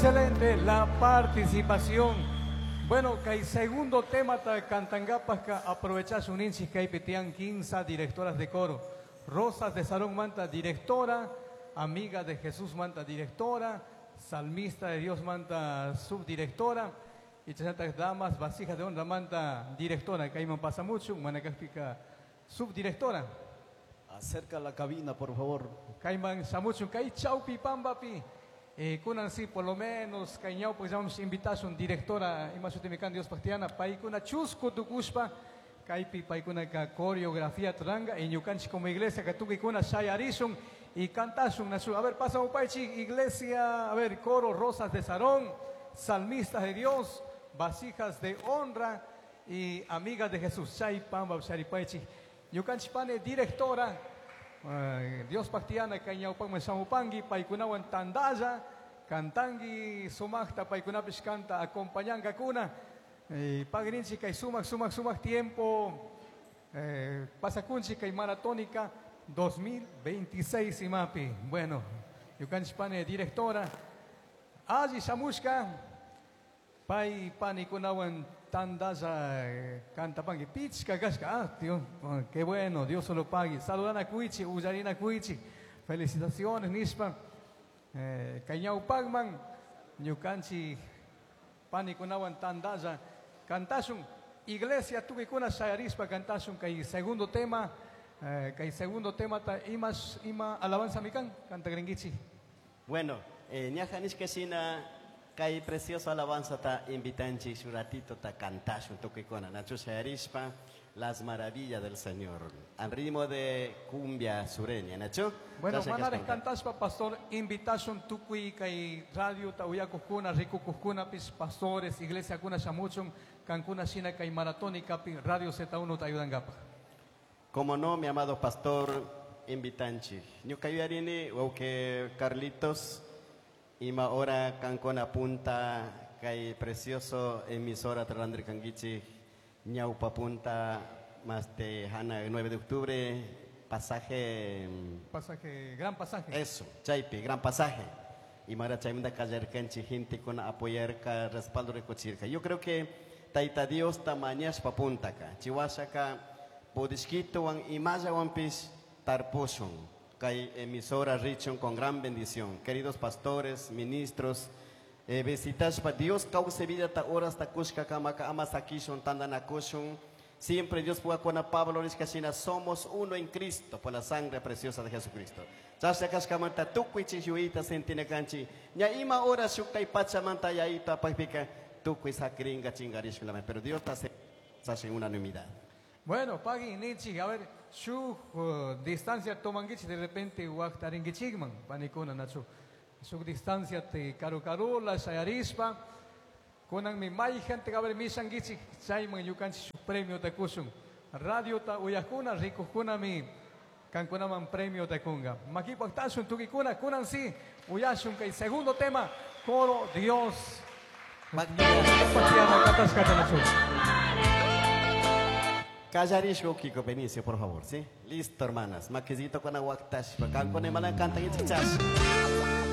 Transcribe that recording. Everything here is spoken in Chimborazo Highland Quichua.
Excelente la participación. Bueno, kay segundo tema ta cantangapajka aprovechashun ninchik kaypi tiyan 15 directoras de coro. Rosas de Sarón Manta, directora, amiga de Jesús Manta, directora, salmista de Dios Manta, subdirectora, y chayantas damas, vasijas de honra Manta, directora, kayman pasamuchun, manakajpika subdirectora. Acerca la cabina, por favor. Kayman shamuchun, kay chawpi pampapi. Kunan sí, por lo menos, kay ñawpak llamamos invitación directora, ima shutimi kan Diospaj tiyana, paykuna chusku tukushpa, kaypi paykunaka coreografía ruranga, y ñukanchik como iglesia ka tukuykuna shayarishun y cantashun nachu. A ver, pasa upaychik, iglesia, a ver, coro Rosas de Sarón, salmistas de Dios, vasijas de honra y amigas de Jesús. Chay pampa sharipaychik. Ñukanchik pane directora, Diospaj tiyana kay ñawpakman shamupanki, paykunawan tandalla, cantanki sumaqta, paykunapish canta acompañankakuna. Pagrinchik kay sumaq, sumaq, sumaq tiempo, pasakunchik kay maratónica 2026 imapi. Bueno, ñukanchik pane directora, alli shamushka, pay panikunawan tandalla, cantapanki, pichka kashka, ah, Dios, oh, qué bueno, Dios se lo pague. Saludana kuichi, uyarina kuichi, felicitaciones, nishpa. Kay ñawpakman, ñukanchik panikunawan tandalla, cantashun, iglesia tukuykuna shayarispa cantashun, kay segundo tema, kay segundo tema ta imas, ima alabanza mikan, cantagringuichi. Bueno, ñaja nishka shina, kay precioso alabanza ta invitanchik shu ratito ta cantashun tukuykuna, nachu shayarispa, las maravillas del Señor, al ritmo de cumbia sureña, nachu. Bueno, Gracias, manares Gaspar. cantashpa, pastor, invitashun tukuy kay radio ta uyakujkuna, rikukujkuna, pis pastores, iglesia kuna shamuchun, kankuna shina kay maratónica pi radio Z1 ta ayudangapa. Como no, mi amado pastor, invitanchik. Ñuka yuyarini, wauke Carlitos, ima hora kankuna punta kay precioso emisora Trandri Kanguichi, ñaupa punta, más de Jana, 9 de octubre, pasaje, Pasaje, gran pasaje. Eso, chaypi, gran pasaje. Y mara chaymanta kallarkanchik, gente con apoyarka, respaldo rikuchirka. Yo creo que Taita Dios tamañashpa puntaka, chihuashaka, pudishkituwan y mayawanpis tarpushun. Kay emisora richun con gran bendición. Queridos pastores, ministros, visitashpa Dios cause vida ta horas ta kushka kamaka ama sakishun tandanakushun. Siempre Dios pueda con a Pablo nishkashina, somos uno en Cristo por la sangre preciosa de Jesucristo. Chasha kashkamanta tukuy chishuita sentinakanchi. Ña ima hora shukay pachamanta yaita pajpika tukuy sakringa chingarishkulame. Pero Dios ta se hace en unanimidad. Bueno, pagui nichi, a ver, su distancia tomanguichi de repente waktaringuichigman, panikuna nachu. Su distancia te karu karula, shayarispa, kunan mi may gente a ver misanguichi, chayman yukanchi su premio te kusun. Radio ta uyakuna, rikukuna mi kankunaman premio te kunga. Maki paktasun tukikuna, kunan si, uyashun kay segundo tema, coro Dios. Callarishko Kiko Benicio, por favor, ¿sí? Listo, hermanas. Maquisito con aguactash. Acá con el malan canta y chichas.